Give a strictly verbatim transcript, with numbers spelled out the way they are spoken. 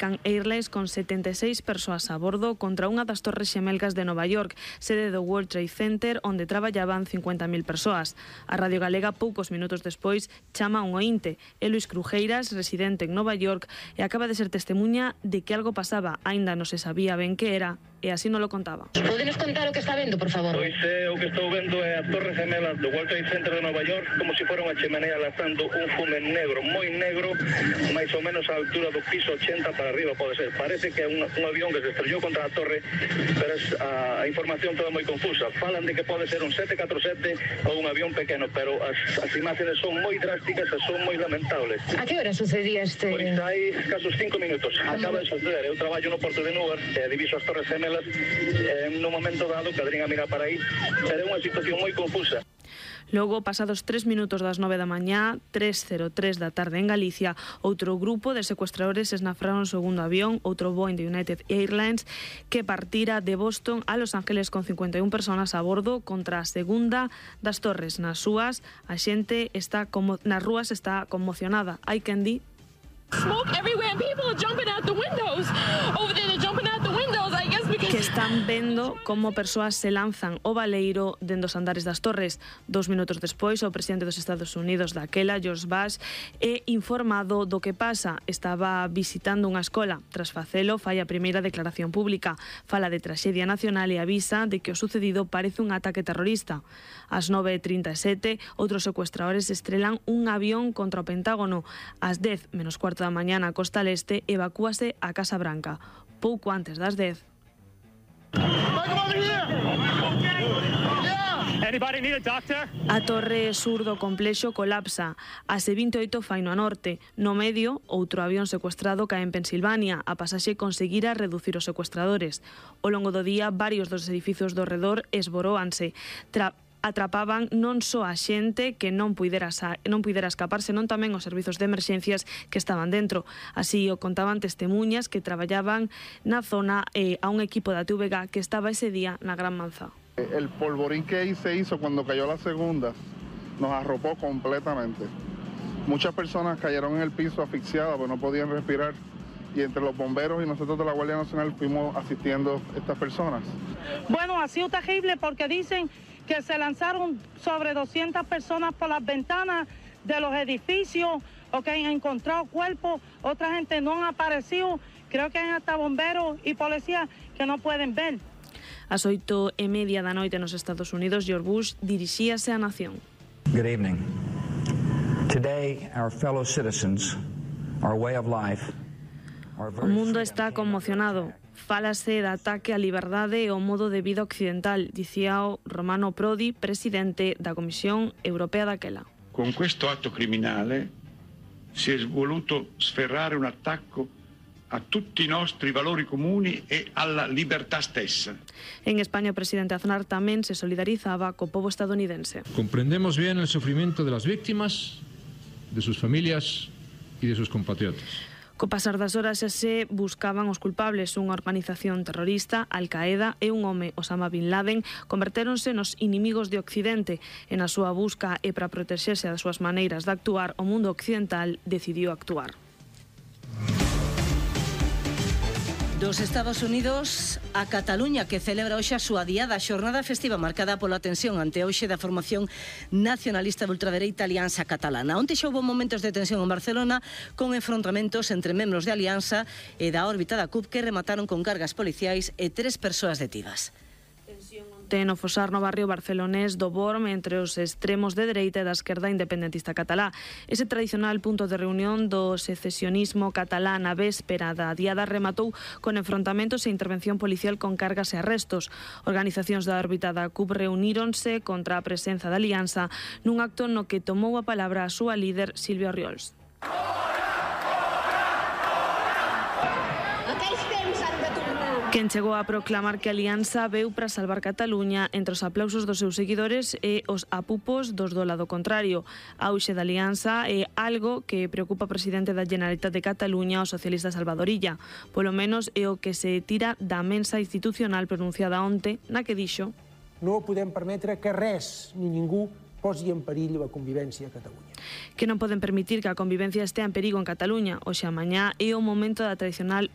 can Airlines con setenta e seis persoas a bordo contra unha das torres xemelgas de Nova York, sede do World Trade Center, onde traballaban cincuenta mil persoas. A Radio Galega, poucos minutos despois, chama un oínte. É Luis Crujeiras, residente en Nova York, e acaba de ser testemuña de que algo pasaba. Aínda non se sabía ben que era, e así non lo contaba. Podenos contar o que está vendo, por favor? Pois é, o que estou vendo é a torre gemela do World Trade Center de Nova York, como se fora unha chimenea lanzando un fume negro, moi negro, máis ou menos a altura do piso ochenta para arriba, pode ser. Parece que é un, un avión que se estrellou contra a torre, pero es, a, a información toda moi confusa. Falan de que pode ser un sete catro sete ou un avión pequeno, pero as, as imágenes son moi drásticas e son moi lamentables. A que hora sucedía este? Pois hai casos cinco minutos. Acaba de suceder. Eu traballo no porto de Newark, e diviso as torres gemelas. En un momento dado, cadrín a mirar para aí, pero é unha situación moi confusa. Logo, pasados tres minutos das nove da mañá, tres cero tres da tarde en Galicia, outro grupo de secuestradores esnafraron o segundo avión, outro Boeing de United Airlines, que partira de Boston a Los Ángeles con cincuenta e un personas a bordo contra a segunda das torres. Nas súas, a xente está como, nas rúas está conmocionada. Hai quen di smoke everywhere and people are jumping out the windows. Over there they're jumping out the windows, I guess because que están vendo como persoas se lanzan o baleiro dende os andares das torres. Dos minutos despois, o presidente dos Estados Unidos daquela, George Bush, é informado do que pasa. Estaba visitando unha escola. Tras facelo, fai a primeira declaración pública. Fala de traxedia nacional e avisa de que o sucedido parece un ataque terrorista. Ás nove e trinta e sete, outros secuestradores estrelan un avión contra o Pentágono. Ás dez menos cuarto da mañá na costa leste, evacúase a Casa Branca. Pouco antes das dez. A torre sur do complexo colapsa. Ás vinte e oito fai no norte. No medio, outro avión secuestrado cae en Pensilvania. A pasaxe conseguira reducir os secuestradores. Ao longo do día, varios dos edificios do redor esboróanse. Tra atrapaban non só a xente que non puidera, non puidera escapar, senón tamén os servizos de emerxencias que estaban dentro. Así o contaban testemuñas que traballaban na zona eh, a un equipo da T V G que estaba ese día na Gran Manzana. El polvorín que ahí se hizo cuando cayó la segunda nos arropó completamente. Muchas personas cayeron en el piso asfixiadas, pues no podían respirar. Y entre los bomberos y nosotros de la Guardia Nacional fuimos asistiendo a estas personas. Bueno, ha sido terrible porque dicen que se lanzaron sobre doscientas personas por las ventanas de los edificios, o que han encontrado cuerpos, otra gente no ha aparecido, creo que hay hasta bomberos y policías que no pueden ver. Ás oito e media da noite nos Estados Unidos, George Bush dirixíase á nación. Good evening. Today, our fellow citizens, our way of life, o mundo está conmocionado. Fálase de ataque á liberdade e ao modo de vida occidental, dicía o Romano Prodi, presidente da Comisión Europea daquela. Con questo atto criminale si è voluto sferrare un attacco a tutti i nostri valori comuni e alla libertà stessa. En España, o presidente Aznar tamén se solidarizaba co pobo estadounidense. Comprendemos bien el sufrimiento de las víctimas, de sus familias y de sus compatriotas. Co pasar das horas xa se buscaban os culpables. Unha organización terrorista, Al-Qaeda, e un home, Osama Bin Laden, convertéronse nos inimigos de Occidente. E na súa busca e para protexerse das súas maneiras de actuar, o mundo occidental decidiu actuar. Dos Estados Unidos a Cataluña, que celebra hoxe a súa diada xornada festiva marcada pola tensión ante hoxe da formación nacionalista de ultradereita Alianza Catalana. Onte xa houve momentos de tensión en Barcelona con enfrontamentos entre membros de Alianza e da órbita da C U P que remataron con cargas policiais e tres persoas detidas. No fosar no barrio barcelonés do Borm entre os extremos de dereita e da esquerda independentista catalá. Ese tradicional punto de reunión do secesionismo catalán a véspera da diada rematou con enfrontamentos e intervención policial con cargas e arrestos. Organizacións da órbita da C U P reuníronse contra a presenza da Alianza nun acto no que tomou a palabra a súa líder Sílvia Orriols. Quen chegou a proclamar que a Alianza veu para salvar Cataluña entre os aplausos dos seus seguidores e os apupos dos do lado contrario. A auxe da Alianza é algo que preocupa o presidente da Generalitat de Cataluña, o socialista Salvador Illa. Polo menos é o que se tira da mensa institucional pronunciada onte, na que dixo: No podem permetre que res ni ningú posi en perill a convivència a Catalunya. Que non poden permitir que a convivencia estea en perigo en Cataluña. Hoxe a mañá é o momento da tradicional